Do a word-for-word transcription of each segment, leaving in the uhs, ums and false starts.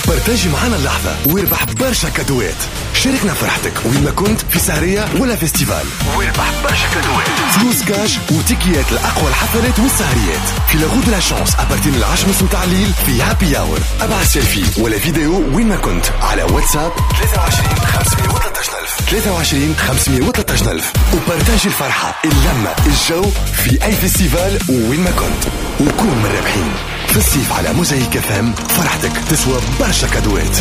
partager معنا اللحظة واربح برشا cadeau ات. شاركنا فرحتك وين ما كنت، في سهرية ولا festival، واربح برشا cadeau ات، فلوس كاش وتيكيات لأقوى الحفلات والسهريات في la roue de la chance à partir من العشرة ونص متاع الليل في happy hour. ابعث سيلفي ولا فيديو وين ما كنت على واتساب ثلاثة وعشرين خمسمية وثلاثة ألف ثلاثة وعشرين خمسمية وثلاثة ألف و partager الفرحة، اللمة، الجو في أي festival وين ما كنت، وكون من الرابحين. في الصيف على موزايك اف ام، فرحتك تسوى برشا cadeau ات.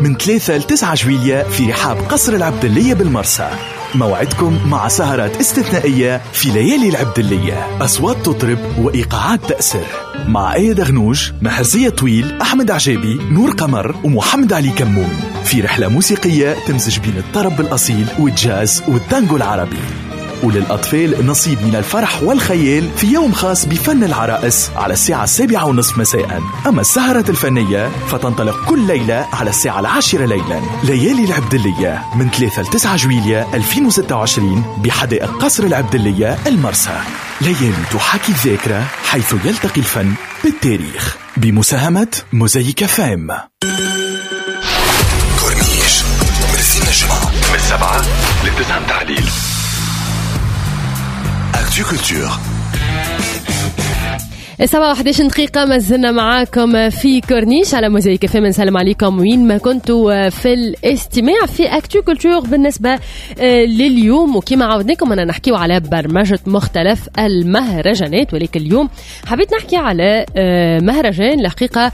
من ثلاثة ل تسعة جويلية في رحاب قصر العبدلية بالمرسى، موعدكم مع سهرات استثنائية في ليالي العبدلية، أصوات تطرب وإيقاعات تأسر مع آية دغنوج، محرزية طويل، أحمد عجابي، نور قمر ومحمد علي كمون، في رحلة موسيقية تمزج بين الطرب الأصيل والجاز والتانجو العربي. وللأطفال نصيب من الفرح والخيال في يوم خاص بفن العرائس على الساعة السابعة ونصف مساء. أما السهرة الفنية فتنطلق كل ليلة على الساعة العاشرة ليلا. ليالي العبدلية من ثلاثة ل تسعة جويلية ألفين وستة وعشرين بحدائق قصر العبدلية المرسى. ليالي تحاكي الذاكرة حيث يلتقي الفن بالتاريخ، بمساهمة موزايك فام. كورنيش من السنة الجمعة من السبعة للتسعة متاع الليل. Actu Culture. سبعة وحداش دقيقة ما زلنا معاكم في كورنيش على موزايك اف ام. نسلم عليكم وين ما كنتوا في الاستماع في Actu Culture. بالنسبة لليوم وكما عودناكم أنا نحكيو على برمجة مختلف المهرجانات، ولكن اليوم حبيت نحكي على مهرجان الحقيقة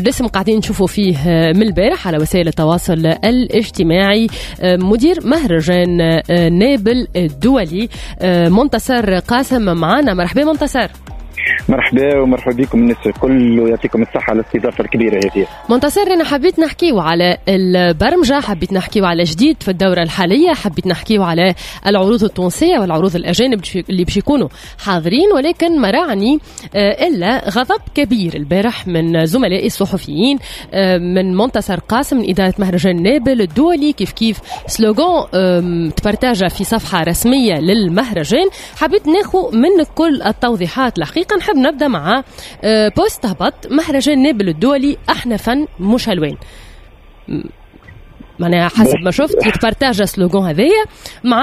لسه قاعدين نشوفوا فيه من البارح على وسائل التواصل الاجتماعي. مدير مهرجان نابل الدولي منتصر قاسم معنا. مرحبا منتصر. مرحبا ومرحبا بكم الناس الكل، ويعطيكم الصحة على الاستضافة الكبيرة هذه. منتصر، أنا حبيت نحكيو على البرمجة، حبيت نحكيو على جديد في الدورة الحالية، حبيت نحكيو على العروض التونسية والعروض الأجانب اللي باش يكونوا حاضرين، ولكن ما راعني إلا غضب كبير البارح من زملائي الصحفيين من منتصر قاسم من إدارة مهرجان نابل الدولي. كيف كيف slogan تبرتاجة في صفحة رسمية للمهرجان. حبيت ناخو من كل التوضيحات. الحقيقة نحب نبدأ مع post هبط مهرجان نابل الدولي، احنا فن مش الوان. معناها حسب ما شفت يتبارتاج slogan هذايا مع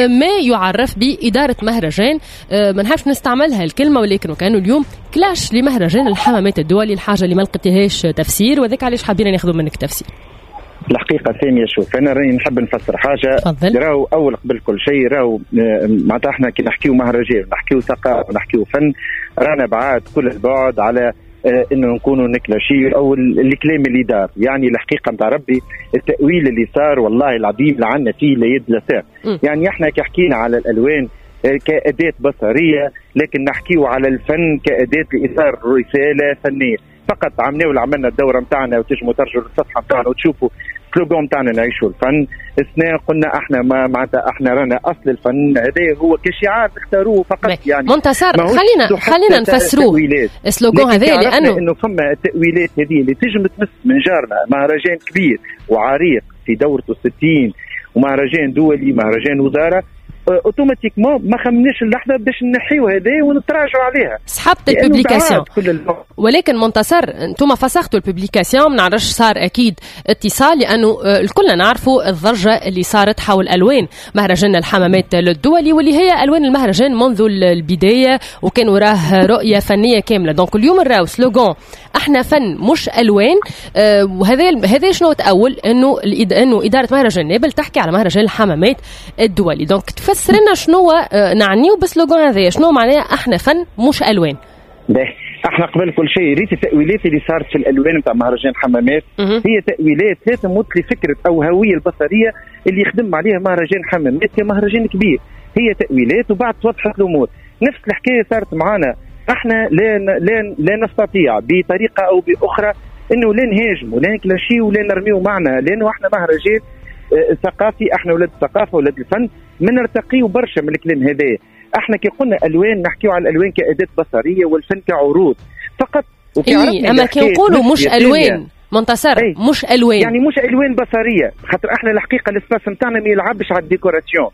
ما يعرف بإدارة مهرجان، ما نحبش نستعملها الكلمة، ولكن وكانوا اليوم clash لمهرجان الحمامات الدولي، الحاجة اللي ما لقيتهاش تفسير، وذاك علاش حابين ناخذ منك تفسير. الحقيقة ثانية، شوف أنا راني نحب نفسر حاجة. راهو أول قبل كل شيء راهو معناتها احنا كي نحكيو مهرجان نحكيو ثقافة ونحكيو فن، رانا بعاد كل البعد على انه نكونوا نكلاشي او الكلام اللي دار. يعني الحقيقة نتاع ربي التأويل اللي صار والله العظيم لعنا فيه لا يد لا ساق. يعني احنا كي حكينا على الألوان كأداة بصرية، لكن نحكيو على الفن كأداة لإثار رسالة فنية فقط. عملنا عملنا الدورة نتاعنا وتجموا ترجعوا للصفحة نتاعنا وتشوفوا slogan نتاعنا نعيشوا الفن. السنة قلنا احنا ما معناتها احنا رانا اصل الفن، هذا هو كشعار اختاروه فقط. يعني منتصر، خلينا خلينا نفسروه ال slogan هذا، لانه انه فما التأويلات هذه اللي تجم تمس من جارنا مهرجان كبير وعريق في دورته ستين ومهرجان دولي مهرجان وزارة، automatiquement ما خمناش اللحظة باش نحيو هذا ونتراجعوا عليها. سحبت ال publication، ولكن منتصر انتم فسختوا ال publication، ما نعرفش صار اكيد اتصال، لانه الكل نعرفوا الضجة اللي صارت حول الوان مهرجان الحمامات الدولي، واللي هي الوان المهرجان منذ البداية، وكان وراه رؤية فنية كاملة. donc اليوم نراو slogan احنا فن مش الوان، وهذا هذا شنو تأول انه انه ادارة مهرجان نابل تحكي على مهرجان الحمامات الدولي. donc تفسر لنا شنو نعنيو ب slogan هذايا، شنو معناه احنا فن مش الوان؟ احنا قبل كل شيء ريت التأويلات اللي صارت في الالوان نتاع مهرجان حمامات هي تأويلات لا تمت لفكرة او هوية البصرية اللي يخدم عليها مهرجان حمامات كمهرجان كبير. هي تأويلات وبعد توضحت الامور. نفس الحكاية صارت معنا احنا، لا لا لا نستطيع بطريقة او باخرى انه لا نهاجم ولا نكلاشي ولا نرميو معنا، لانه احنا مهرجان ثقافي، احنا ولاد الثقافة ولاد الفن، ما نرتقيو برشا من الكلام هذا. احنا كي قلنا الوان نحكيو على الالوان كاداة بصريه والفن كعروض فقط. إيه، اما كي نقولوا مش الوان منتصر، أي. مش الوان يعني مش الوان بصريه، خاطر احنا الحقيقة ال espace نتاعنا ما يلعبش على ال décoration،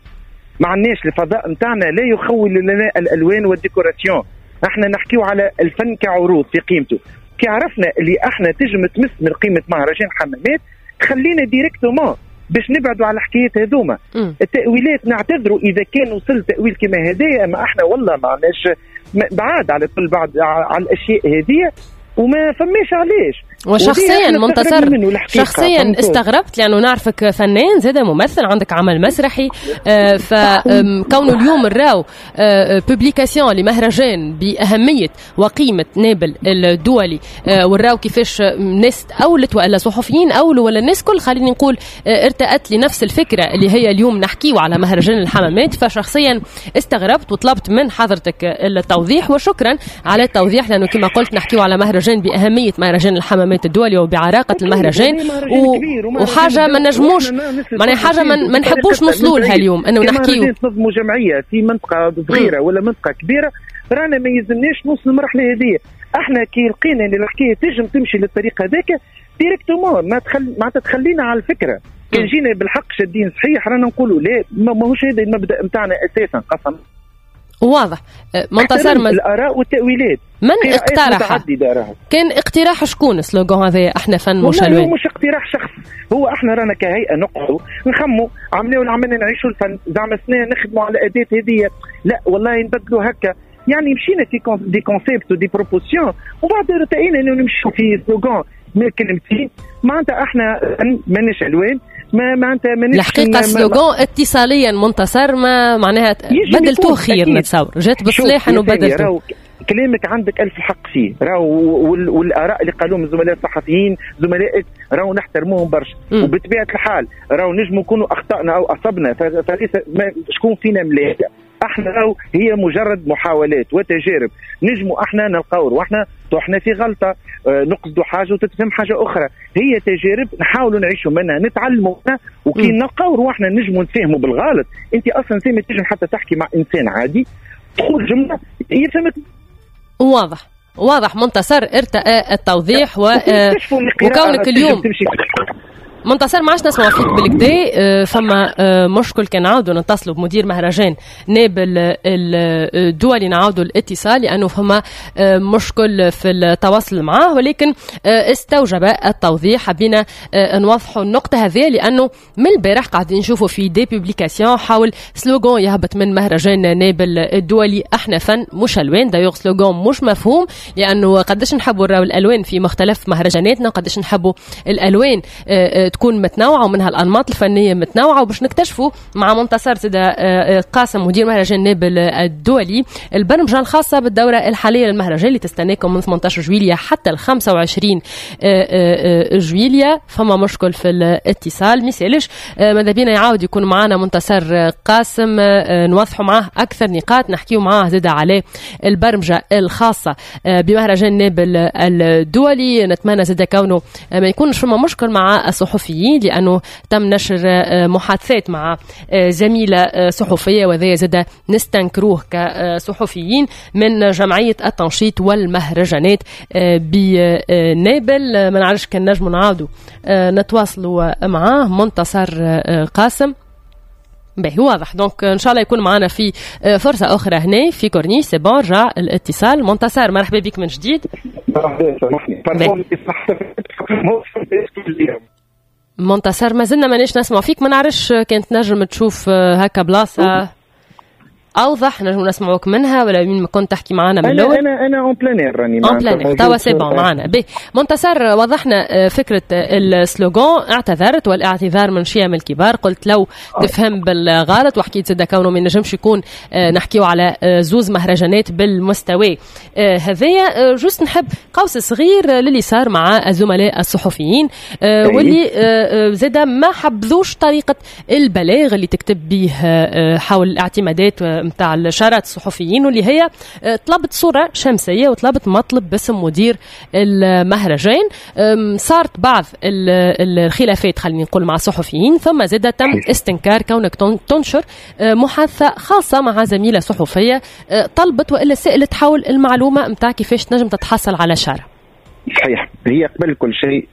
ما عندناش الفضاء نتاعنا لا يخول لنا الالوان وال décoration. احنا نحكيو على الفن كعروض في قيمته. كي عرفنا اللي احنا تجم تمس من قيمة مهرجان حمامات خلينا directement باش نبعدوا على الحكايات هذوما. التاويلات نعتذروا اذا كان وصل تاويل كما هذايا، اما احنا والله ما عندناش بعاد على كل بعد على الاشياء هذه وما فماش علاش. وشخصيا منتصر شخصيا استغربت لانه نعرفك فنان زاد ممثل، عندك عمل مسرحي، آه فكونه اليوم نراو آه publication لمهرجان باهمية وقيمه نابل الدولي، آه وراو كيفاش ناس اولت والا صحفيين اولوا ولا الناس كل خليني نقول آه ارتأت لنفس الفكرة اللي هي اليوم نحكيو على مهرجان الحمامات. فشخصيا استغربت وطلبت من حضرتك التوضيح، وشكرا على التوضيح لانه كما قلت نحكيو على مهرجان باهمية مهرجان الحمامات الدولي وبعراقة المهرجان و... وحاجة ما نجموش معناها حاجة ما نحبوش نوصلوا لها اليوم انه نحكيو نظموا جمعية في منطقة صغيرة ولا منطقة كبيرة، رانا ما يلزمناش نوصل للمرحلة هذه. احنا كي لقينا ان الحكاية تنجم تمشي للطريق هذاك directement ما تخل... معناتها تخلينا على الفكرة. كان جينا بالحق شادين صحيح رانا نقولوا لا، ماهوش هذا المبدأ نتاعنا اساسا. قسم واضح منتصر من الاراء والتاويلات. من اقترح؟ كان اقتراح شكون slogan هذا احنا فن مش الوان؟ هو مش اقتراح شخص، هو احنا رانا كهيئة نقعدوا نخموا عملنا ولا عملنا نعيشوا الفن زعما سنة نخدموا على اداه هذه، لا والله نبدلوا هكا، يعني مشينا في des concepts و des propositions وبعد ارتئينا انه نمشوا في slogan من كلمتين معناتها احنا ماناش الوان ما معناتها مانيش الحقيقة slogan اتصاليا منتصر ما معناها بدلتوه خير نتصور جات بصلاح انه بدلتوه. كلامك عندك ألف حق فيه راهو، والاراء اللي قالوهم الزملاء الصحفيين زملائك راهو نحترموهم برشا، وبطبيعة الحال راهو نجموا نكونوا اخطانا او اصبنا، فليس شكون فينا ملاك. احنا راهو هي مجرد محاولات وتجارب، نجموا احنا نلقاو روحنا طحنا في غلطه، اه نقصدوا حاجة وتتفهم حاجة اخرى، هي تجارب نحاولوا نعيشوا منها نتعلموا منها، وكي نلقاو روحنا نجموا نفهموا بالغلط. انت اصلا سامي تنجم حتى تحكي مع انسان عادي تقول جملة يفهمك. واضح واضح منتصر، ارتأى التوضيح و... وكونك اليوم منتصر ما عادش نسمع فيك بالكدا، فما مشكل كان نعاودوا نتصلوا بمدير مهرجان نابل الدولي نعاودوا الاتصال لانه فما مشكل في التواصل معاه، ولكن استوجب التوضيح. حبينا نوضحوا النقطة هذه لانه من البارح قاعدين نشوفوا في des publications حاول slogan يهبط من مهرجان نابل الدولي احنا فن مش الوان. d'ailleurs slogan مش مفهوم لانه قداش نحبوا نراو الالوان في مختلف مهرجاناتنا، قداش نحبوا الالوان تكون متنوعة ومنها الأنماط الفنية متنوعة. وباش نكتشفوا مع منتصر سيدة قاسم مدير مهرجان نابل الدولي البرمجة الخاصة بالدورة الحالية للمهرجان اللي تستناكم من ثمانية عشر جويلية حتى ال خمسة وعشرين جويلية. فما مشكل في الاتصال ميسالش، ماذا بينا يعاود يكون معنا منتصر قاسم نوضحوا معاه أكثر نقاط، نحكيو معاه زادة على البرمجة الخاصة بمهرجان نابل الدولي. نتمنى زادة كونه ما يكونش فما مشكل مع الصحفيين لأنه تم نشر محادثات مع زميلة صحفية وذا زاد نستنكروه كصحفيين من جمعية التنشيط والمهرجانات بنابل. ما نعرفش كان نجم نعاودوا نتواصلوا معاه منتصر قاسم. باهي واضح، donc ان شاء الله يكون معنا في فرصة اخرى هنا في كورنيش. c'est bon رجع الاتصال. منتصر مرحبا بك من جديد. مرحبا سامحني منتصر، ما زلنا مانيش نسمع فيك، ما نعرفش كانت نجم تشوف هكا بلاصة اوضح نجم نسمعوك منها ولا مين ما كنت تحكي معنا من الاول. انا انا en plein air راني en plein air توا c'est bon معنا. بي منتصر وضحنا فكرة ال slogan، اعتذرت والاعتذار من شيم الكبار، قلت لو تفهم بالغلط وحكيت زاد كونه ما نجمش يكون نحكيو على زوز مهرجانات بالمستوى هذايا. juste نحب قوس صغير للي صار مع الزملاء الصحفيين واللي زاد ما حبذوش طريقه البلاغ اللي تكتب به حول الاعتمادات متاع الشارات الصحفيين، واللي هي طلبت صورة شمسية وطلبت مطلب باسم مدير المهرجان. صارت بعض الخلافات خلينا نقول مع الصحفيين، ثم زاد تم استنكار كونك تنشر محادثة خاصة مع زميلة صحفية طلبت وإلا سألت حول المعلومة متاع كيفاش تنجم تتحصل على شارة. صحيح، هي قبل كل شيء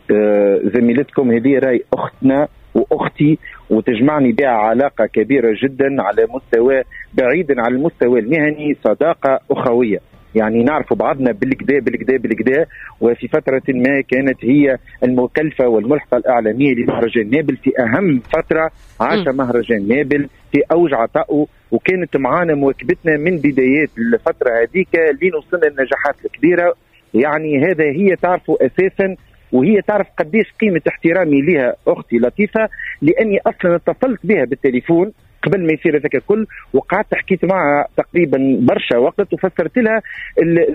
زميلتكم هذه راي أختنا وأختي وتجمعني بها علاقة كبيرة جدا على مستوى بعيدا عن المستوى المهني، صداقة أخوية. يعني نعرف بعضنا بالكدا بالكدا بالكدا، وفي فترة ما كانت هي المكلفة والملحقة الإعلامية لمهرجان نابل في أهم فترة عاش مهرجان نابل في أوج عطائه، وكانت معانا مواكبتنا من بدايات الفترة هذيك لين وصلنا للنجاحات الكبيرة. يعني هذا هي تعرفه أساسا، وهي تعرف قديش قيمة احترامي لها أختي لطيفة، لأني أصلا اتصلت بها بالتليفون قبل ما يصير هذاك الكل، وقعدت حكيت معها تقريبا برشا وقت وفسرت لها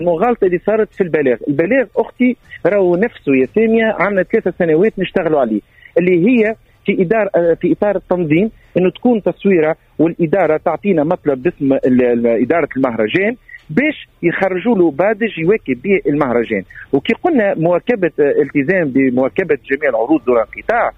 المغالطة اللي صارت في البلاغ. البلاغ اختي راهو نفسه يا سامية عندنا ثلاثة سنوات نشتغلوا عليه، اللي هي في ادارة في اطار التنظيم انه تكون تصويره والادارة تعطينا مطلب باسم ادارة المهرجان باش يخرجوا له badge يواكب به المهرجان. وكي قلنا مواكبة التزام بمواكبه جميع العروض دون انقطاع،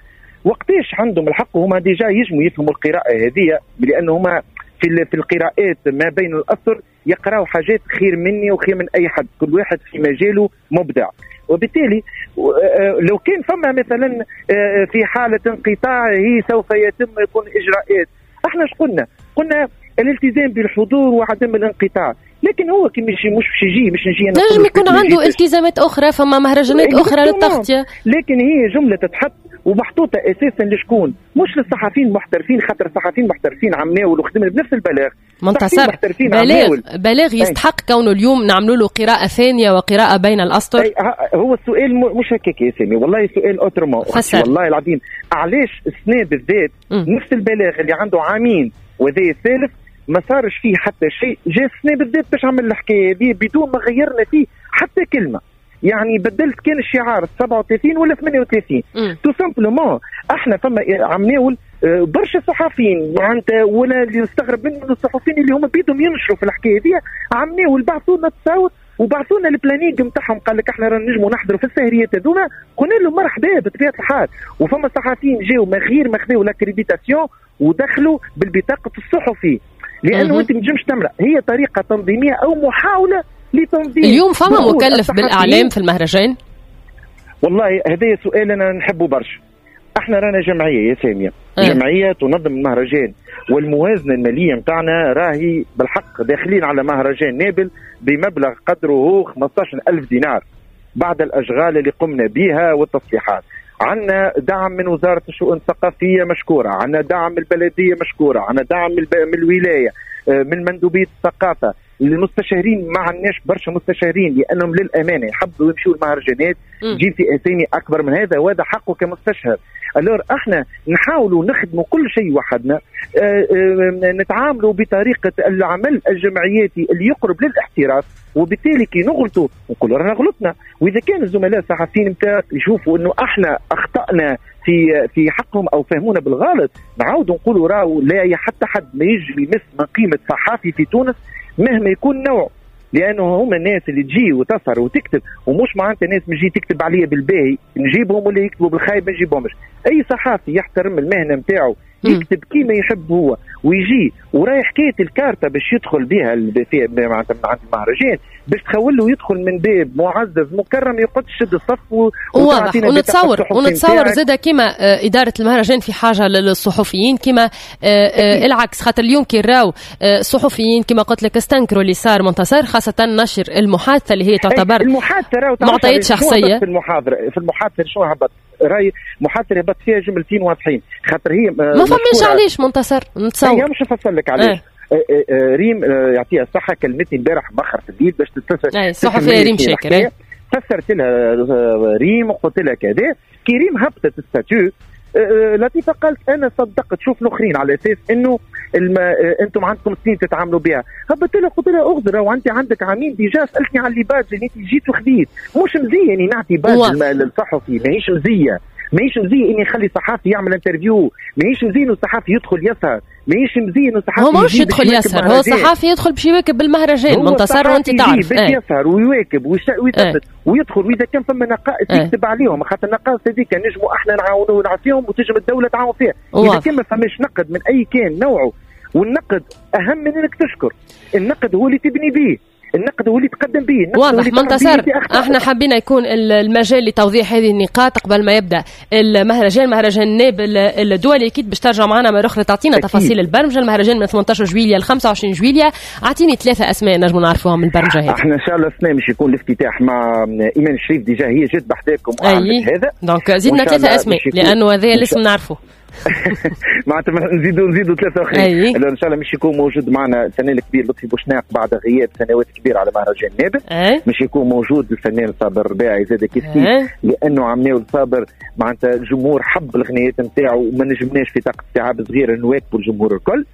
وقتاش عندهم الحق هما déjà يجموا يفهموا القراءة هذه، لأن هما في في القراءات ما بين الأسطر يقراوا حاجات خير مني وخير من أي حد، كل واحد في مجاله مبدع. وبالتالي لو كان فما مثلا في حالة انقطاع هي سوف يتم يكون إجراءات. احنا اش قلنا؟ قلنا الالتزام بالحضور وعدم الانقطاع، لكن هو كي مش مش باش يجي مش نجي نجم يكون عنده التزامات أخرى، فما مهرجانات أخرى للتغطية، لكن هي جملة تتحط ومحطوطة أساسا لشكون؟ مش للصحفيين المحترفين، خاطر الصحفيين المحترفين عمناول وخدمنا بنفس البلاغ. منتصر بلاغ بلاغ يستحق كونه اليوم نعملوا له قراءة ثانية وقراءة بين الأسطر. هو السؤال مش هكاك يا سامي، والله سؤال autrement، والله العظيم. علاش السنة بالذات نفس البلاغ اللي عنده عامين وذي الثالث ما صارش فيه حتى شيء، جاء السنة بالذات باش عمل الحكاية هذه بدون ما غيرنا فيه حتى كلمة. يعني بدلت كان الشعار سبعة وثلاثين ولا ثمانية وثلاثين tout simplement. احنا فما عمناول برشا صحفيين معناتها، ولا اللي نستغرب منه الصحفيين اللي هما بيدهم ينشروا في الحكاية هذه، عمناول بعثوا لنا تصاور وبعثوا لنا ال planning نتاعهم، قال لك احنا رانا نجموا نحضروا في السهريات هذوما، قلنا لهم مرحبا بطبيعة الحال. وفما صحفيين جاوا من غير ما خذاو l'accréditation ودخلوا بالبطاقه الصحفي، لانه انت ما تنجمش تمرق. هي طريقه تنظيميه او محاولة لتنظيم. اليوم فما مكلف بالإعلام في المهرجان؟ والله هذا سؤال أنا نحبه برشا. احنا رانا جمعية يا سامية، أه. جمعية تنظم المهرجان، والموازنة المالية متاعنا راهي بالحق داخلين على مهرجان نابل بمبلغ قدره خمسة عشر ألف دينار بعد الأشغال اللي قمنا بها والتصليحات. عندنا دعم من وزارة الشؤون الثقافية مشكورة، عندنا دعم من البلدية مشكورة، عندنا دعم من الولاية، من مندوبية الثقافة. المستشارين ما عندناش برشا مستشارين لانهم للامانة يحبوا يمشوا المهرجانات، تجيب في اسامي اكبر من هذا، وهذا حقه كمستشهر. alors احنا نحاولوا نخدموا كل شيء وحدنا، اه اه نتعاملوا بطريقة العمل الجمعياتي اللي يقرب للاحتراف، وبالتالي كي نغلطوا نقولوا رانا غلطنا. واذا كان الزملاء الصحفيين نتاع يشوفوا انه احنا اخطانا في في حقهم او فهمونا بالغلط، نعاودوا نقولوا راهو لا حتى حد ما يجي يمس من قيمة صحافي في تونس مهما يكون نوعه، لانه هما الناس اللي تجي وتسهر وتكتب، ومش معناتها الناس تجي تكتب عليا بالباهي نجيبهم ولا يكتبوا بالخايب ما نجيبهمش. اي صحافي يحترم المهنة نتاعو يكتب كيما يحب هو ويجي وراي حكاية الكارته باش يدخل بها معناتها من عند المهرجان باش تخول له يدخل من باب معزز مكرم، يقعد يشد الصف و... واضح. ونتصور ونتصور زاده كيما ادارة المهرجان في حاجة للصحفيين كيما العكس، خاطر اليوم كي راو الصحفيين كيما قلت لك استنكروا اللي صار منتصر، خاصة نشر المحادثة اللي هي تعتبر المحادثة معطيات شخصية. في المحاضرة في المحادثة شنو هبط راي محادثة هبط فيها جملتين واضحين، خاطر هي ما فماش علاش منتصر نتصور. هي مش نفسر لك علاش. اه. ريم يعطيها الصحة كلمتني امبارح مخر في الليل باش تتفسر. الصحفية ريم شاكر فسرت لها ريم وقلت لها كذا. كي ريم هبطت statut لطيفة قالت انا صدقت شوف الاخرين على اساس انه الم... انتم عندكم سنين تتعاملوا بها. هبطت لها قلت لها اغزر وانت عندك عامين déjà سالتني على les badges اللي انت جيت وخذيت، مش مزية اني نعطي badge للصحفي، ماهيش مزية، ماهيش مزية اني نخلي صحافي يعمل interview، ماهيش مزية انه الصحافي يدخل يسهر، ماهيش مزية انه الصحافي هو مش يدخل يسهر، هو صحافي يدخل باش يواكب بالمهرجان منتصر وانت تعرف باش يسهر ويواكب ويثبت ويدخل، واذا كان فما نقائص يكتب عليهم، خاطر النقائص هذيك نجموا احنا نعاونوا ونعطيهم وتنجم الدولة تعاون فيها. اذا كان ما فماش نقد من اي كان نوعه، والنقد اهم من انك تشكر، النقد هو اللي تبني به. النقد هو اللي تقدم به. واضح منتصر، احنا حبينا يكون المجال لتوضيح هذه النقاط قبل ما يبدا المهرجان، مهرجان نابل الدولي. اكيد باش ترجع معنا مرة اخرى تعطينا تفاصيل البرمجة. المهرجان من ثمانية عشر جويلية ل خمسة وعشرين جويلية. اعطيني ثلاثة اسماء نجموا نعرفوهم من البرمجة هذه. احنا ان شاء الله السنة مش يكون الافتتاح مع ايمان الشريف، déjà هي جت بحذاكم وعملت هذا، donc زيدنا ثلاثة اسماء لانه هذا الاسم نعرفه. معناتها نزيدوا نزيدوا ثلاثة اخرين. ان شاء الله مش يكون موجود معنا الفنان الكبير لطفي بوشناق بعد غياب سنوات كبيرة على مهرجان نابل. مش يكون موجود الفنان صابر الرباعي زاد كيف كيف، لانه عمناو صابر معناتها الجمهور حب الغنيات نتاعو وما نجمناش في طاقة استيعاب صغيرة نواكبوا الجمهور الكل.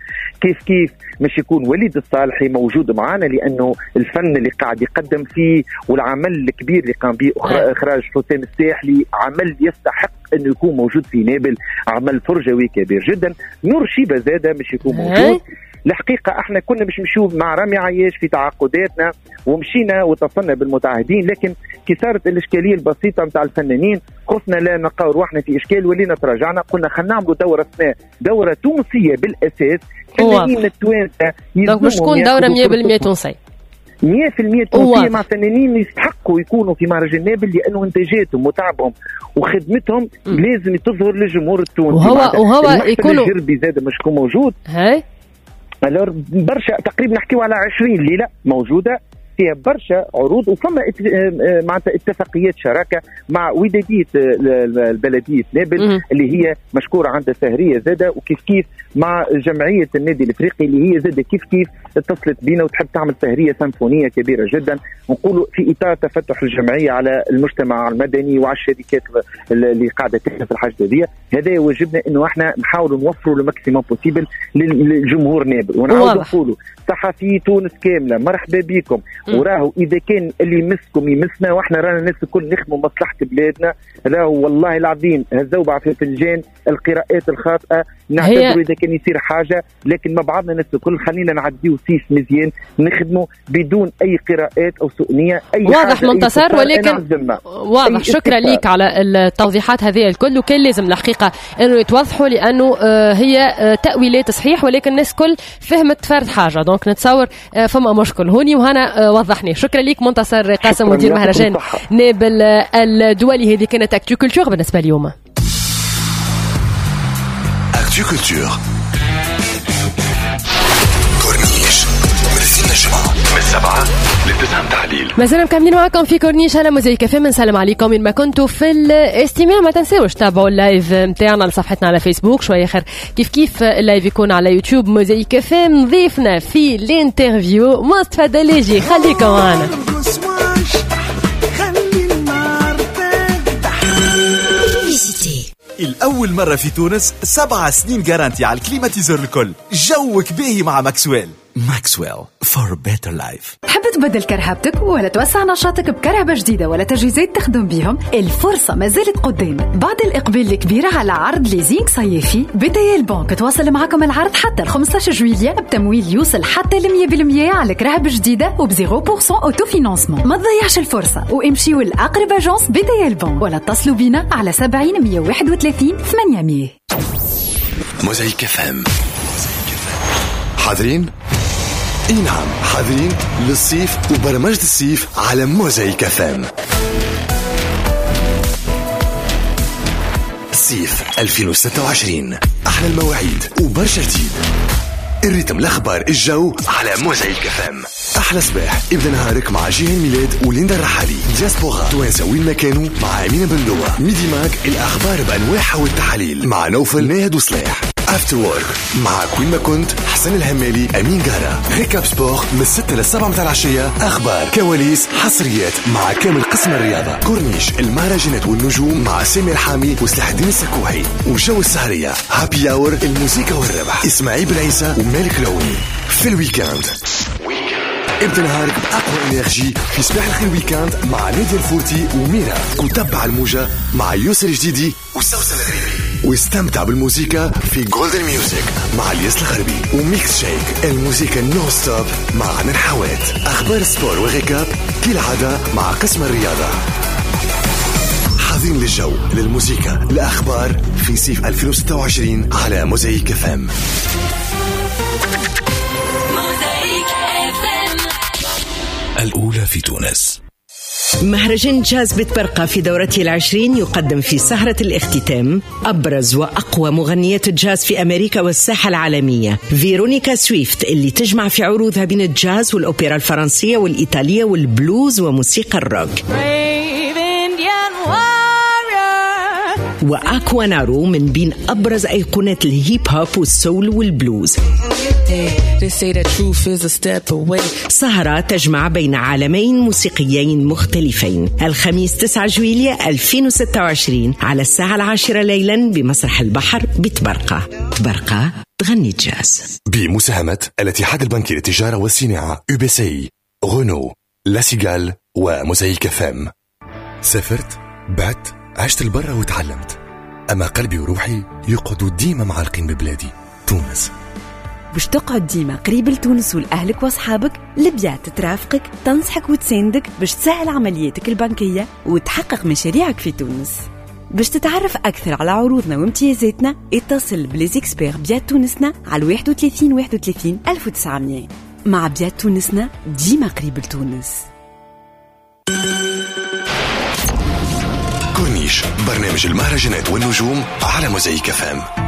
كيف كيف مش يكون وليد الصالحي موجود معنا، لانه الفن اللي قاعد يقدم فيه والعمل الكبير اللي قام به اخراج حسام الساحلي عمل يستحق انه يكون موجود في نابل، عمل فرجوي كبير جدا. نور شيبة زاده مش يكون موجود. الحقيقة احنا كنا باش نمشيو مع رامي عياش في تعاقداتنا ومشينا واتصلنا بالمتعهدين، لكن كي صارت الاشكالية البسيطة نتاع الفنانين خفنا لا نلقاو رواحنا في اشكال، ولينا تراجعنا قلنا خلينا نعملوا دوره سنة، دوره تونسية بالاساس، فنانين التوانسة. donc باش تكون دوره مية بالمية تونسية، مية بالمية تونسية مع فنانين يستحقوا يكونوا في مهرجان نابل، لانه انتاجاتهم وتعبهم وخدمتهم م. لازم تظهر للجمهور التونسي. وهو وهو يكونوا الجربي زاد مش يكون موجود. هاي alors برشا تقريبا نحكيو على عشرين ليلة موجودة فيها برشا عروض، وفما معناتها اتفاقيات شراكة مع وداديه البلدية نابل اللي هي مشكورة عندها سهريه زاده، وكيف كيف مع جمعية النادي الافريقي اللي هي زاده كيف كيف اتصلت بينا وتحب تعمل سهريه سيمفونية كبيرة جدا. نقولوا في اطار تفتح الجمعية على المجتمع المدني وعلى الشركات اللي قاعدة تخدم في الحاجة هذه، هذا واجبنا انه احنا نحاولوا نوفروا le maximum possible للجمهور نابل. ونعاودوا نقولوا صحفي تونس كاملة مرحبا بكم، وراهو اذا كان اللي يمسكم يمسنا، واحنا رانا الناس الكل نخدموا مصلحة بلادنا. راهو والله العظيم هالزوبعه في الفنجان، القراءات الخاطئة نعتذروا اذا كان يصير حاجة، لكن مع بعضنا الناس الكل خلينا نعديو سيس مزيان، نخدموا بدون اي قراءات او سوء نيه. اي واضح منتصر، ولكن واضح. شكرا لك على التوضيحات هذه الكل، وكان لازم الحقيقة انه يتوضحوا لانه هي تاويلات صحيح، ولكن الناس الكل فهمت فرد حاجة، donc نتصور فما مشكل هوني وهنا وضحني. شكرا لك منتصر قاسم مدير مهرجان نابل الدولي. هذه كانت Actu Culture بالنسبة اليوم. Actu Culture كورنيش من الجمعة من السبعة للتسعة تحليل. مازلنا مكملين معكم في كورنيش على موزايك اف ام. نسلم عليكم من ما كنتوا في الاستماع. ما تنساوش تابعوا ال live نتاعنا لصفحتنا على فيسبوك، شوية اخر كيف كيف ال live يكون على يوتيوب موزايك اف ام. ضيفنا في ال interview مصطفى دليجي، خليكم معنا. الأول مرة في تونس سبع سنين garantie على ال climatiseur الكل. جوك باهي مع ماكسويل. ماكسويل for better life. تحب تبدل كرهبتك ولا توسع نشاطك بكرهبة جديدة ولا تجهيزات تخدم بيهم؟ الفرصة ما زالت قدام. بعد الإقبال الكبير على عرض leasing صيفي، BTL Bank تواصل معكم العرض حتى ال خمسة عشر جويلية بتمويل يوصل حتى ل مية بالمية على كرهبة جديدة وب صفر بالمية autofinancement. ما تضيعش الفرصة وامشيوا لأقرب agence BTL Bank ولا اتصلوا بينا على سبعين مية وواحد وثلاثين ثمانمية. موزايك اف ام. حاضرين؟ اي نعم حاضرين للصيف وبرمجة الصيف على موزايك اف ام. صيف ألفين وستة وعشرين، احلى المواعيد وبرشا جديد، ال rythme، الاخبار، الجو على موزايك اف ام. احلى صباح ابدا نهارك مع جيهان ميلاد وليندا الرحالي، دياسبورا توانسة وين ما كانوا مع امينه بندوه، Midi Mag الاخبار بانواعها والتحاليل مع نوفل ناهد وصلاح، After Work معك وين ما كنت حسن الهمالي امين قارة، Récap Sport من ستة للسبعة متاع العشية، اخبار كواليس حصريات مع كامل قسم الرياضة، كورنيش المهرجانات والنجوم مع سامي الحامي وسلاح الدين السكوحي، وجو السهريه happy hour الموسيقى والربح اسماعيل بالعيسى ومالك العوني. في ال week-end ابدا نهارك بأقوى énergie في صباح الخير week-end مع نادية الفورتي وميرا، وتبع الموجة مع يوسف الجديدي وسوسن الغريبي، واستمتع بالموسيقى في Golden Music مع الياس الغربي و Mix Shake الموسيقى non-stop مع عنان حوات. أخبار sport و récap كالعادة مع قسم الرياضة. حاضرين للجو للموسيقى الأخبار في صيف ألفين وستة وعشرين على موزايك اف ام. الأولى في تونس. مهرجان جاز بتبرقة في دورته العشرين يقدم في سهرة الاختتام أبرز وأقوى مغنيات الجاز في أمريكا والساحة العالمية، فيرونيكا سويفت اللي تجمع في عروضها بين الجاز والأوبرا الفرنسية والإيطالية والبلوز وموسيقى الروك، وأكوانارو من بين أبرز أيقونات الهيب هوب والسول والبلوز. سهرة تجمع بين عالمين موسيقيين مختلفين، الخميس تسعة جويلية ألفين وستة وعشرين على الساعة العاشرة ليلا بمسرح البحر بتبرقة. تبرقة تغني جاز. بمساهمة الاتحاد البنكي للتجارة والصناعة يو بي سي، غونو، لاسيغال وموزايك فام. سافرت، بعت، عشت البرة وتعلمت، أما قلبي وروحي يقعدوا ديما معلقين ببلادي تونس. باش تقعد ديما قريب لتونس ولأهلك وأصحابك، البيات ترافقك، تنصحك وتساندك باش تسهل عملياتك البنكية وتحقق مشاريعك في تونس. باش تتعرف أكثر على عروضنا وامتيازاتنا اتصل ب les experts بيات تونسنا على واحد وثلاثين واحد وثلاثين ألف وتسعمية. مع بيات تونسنا ديما قريب لتونس. كورنيش، برنامج المهرجانات والنجوم على موزايك فام.